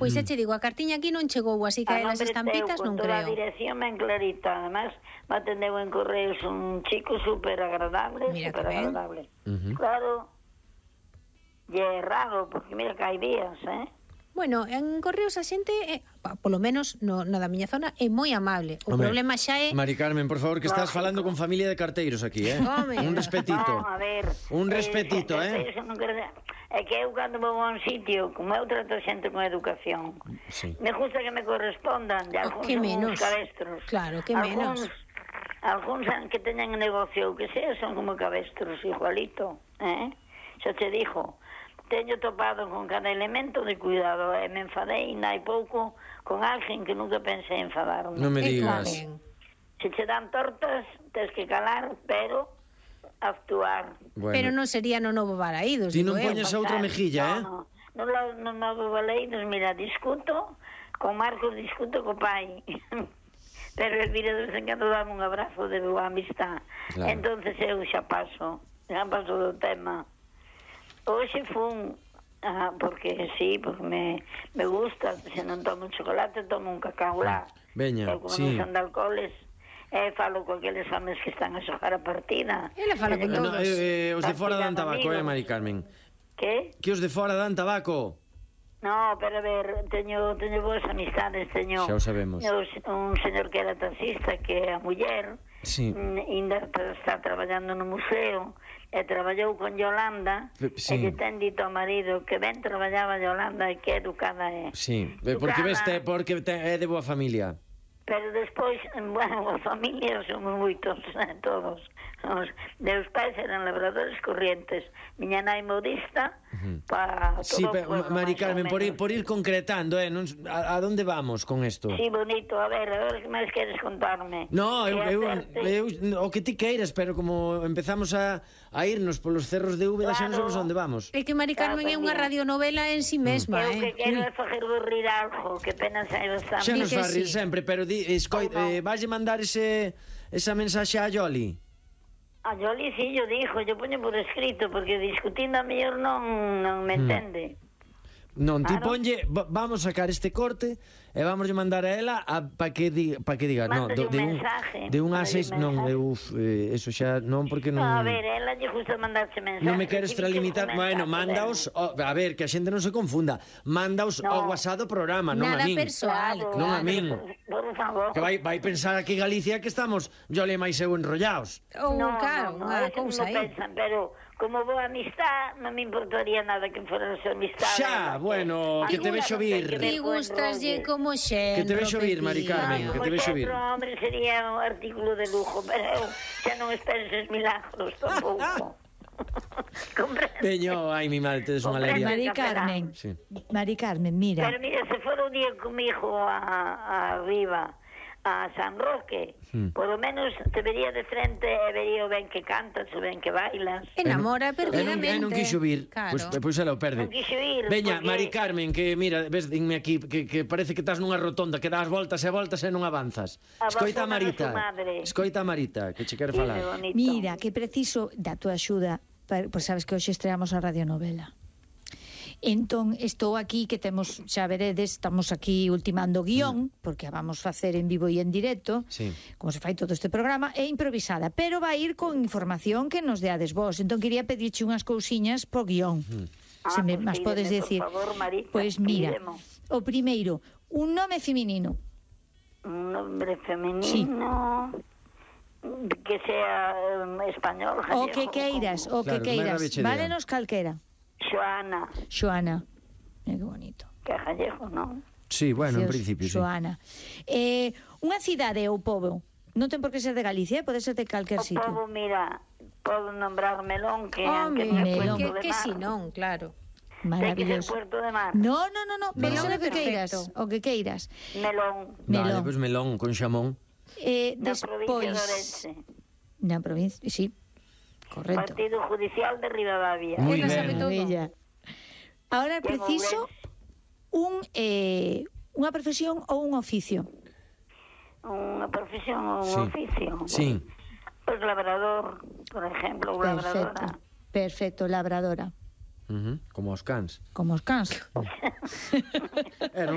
Pois xa che digo, a cartiña aquí non chegou, así que as estampitas non creo. A dirección ben clarita, además me atendeu en correos un chico super agradable, super agradable. Claro, e é raro, porque mira que hai días, Bueno, en correos a xente, polo menos na da miña zona, é moi amable. O problema xa é... Mari Carmen, por favor, que estás falando con familia de carteiros aquí, Un respetito. No, a ver... Un respetito, É que eu cando vou a un sitio, como eu trato a xente con educación, me gusta que me correspondan, de algúns son uns cabestros. Claro, que menos. Algúns que teñan negocio, que sea, son como cabestros, igualito, xa te dixo. Teño topado con cada elemento de cuidado e me enfadei hai pouco con alguén que nunca pensei enfadarme. Non me digas. Se che dan tortas, tens que calar, pero actuar. Bueno. Pero non sería no Novo Balaídos. Ti non poñes a outra mejilla, No Novo Balaídos, mira, discuto con Marcos, discuto co pai. Pero el vira de vez en cando dame un abrazo de boa amistad. Claro. Entonces eu xa paso do tema. Hoxe fun, porque sí, porque me gusta, se non tomo un chocolate, tomo un cacao lá. Veña, como non son de alcoholes, falo con aqueles homes que están a xogar a partida. Ela fala con todos. Os de fora dan tabaco, Mari Carmen. Que? Que os de fora dan tabaco. No, pero a ver, teño boas amistades, xa o sabemos. Un señor que era taxista, que a muller, ainda está traballando no museo, e traballou con Yolanda, e lle ten dito ao marido que ben traballaba Yolanda e que educada é. Sí, porque é de boa familia. Pero despois, bueno, a familia somos moitos, todos. Meus pais eran labradores corrientes, miña nai modista, para todo. Sí, pero, Mari Carmen, por ir concretando, a donde vamos con isto? Sí, bonito, a ver que máis queres contarme? No, eu o que ti queiras, pero como empezamos a irnos polos cerros de Úbeda, xa non sabemos onde vamos. É que Mari Carmen é unha radionovela en si mesma, Eu que quero é facer rir algo, que pena sai bastante. Xa nos va a rir sempre, pero valle mandar esa mensaxe a Yoli? A Yoli, sí, yo poño por escrito, porque discutindo a mellor non me entende. Non, ti ponlle, vamos sacar este corte e vamos mandar a ela para que diga, no, de un A6, non, eso xa non, porque non. A ver, ela lle gusta mandarse mensaje. Non me quero extralimitar, bueno, mándaos, a ver, que a xente non se confunda, mándaos ao WhatsApp do programa, non a min. Nada persoal, non a min. Por favor. Que vai pensar aquí Galicia que estamos Yole máis eu enrollaos. Claro, unha cousa aí. Pero como boa amistad, non me importaría nada que fora a súa amistad. Xa, bueno, que te vexo vir. Ti gustaslle como xenro. Que te vexo vir, Mari Carmen, que te vexo vir. Hombre, sería un artículo de lujo, pero eu xa non esperes milagros tampouco. Veño, ai, mi madre, tedes unha alegría. Mari Carmen, mira. Pero mira, se fora un día comigo arriba a San Roque, por lo menos te vería de frente e vería o ben que cantas, o ben que bailas. Enamora perdidamente. Non quixo vir, pois ela o perde. Non quixo vir. Veña, Mari Carmen, que mira, ves, dinme aquí, que parece que estás nunha rotonda, que das voltas e voltas e non avanzas. Escoita a Marita, que che quero falar. Mira, que preciso da tua axuda, pois sabes que hoxe estreamos a radionovela. Entón, estou aquí, que temos, xa veredes, estamos aquí ultimando guión, porque a vamos facer en vivo e en directo, como se fai todo este programa, é improvisada, pero vai ir con información que nos deades vos. Entón, quería pedirche unhas cousiñas pro guión. Se me mas podes decir. Pois mira, o primeiro, un nome feminino. Un nome feminino... que sea español, gallego. O que queiras, válenos calquera. Xoana. Que bonito. Que gallego, non? Sí, bueno, en principio, sí. Xoana. Unha cidade ou pobo, non ten por que ser de Galicia, pode ser de calquer sitio. O pobo, mira, podo nombrar Melón, que é Melón. Que si non, claro. Maravilloso. Puerto de Mar. No, pode ser o que queiras. Melón. Vale, pois Melón con xamón. Despois na provincia, sí, correcto. Partido Judicial de Ribadavia. Muy ben. Ahora preciso unha profesión ou un oficio. Unha profesión ou un oficio. Sí. Pois labrador, por exemplo, labradora. Perfecto, labradora. Como os cans. Como os cans. Non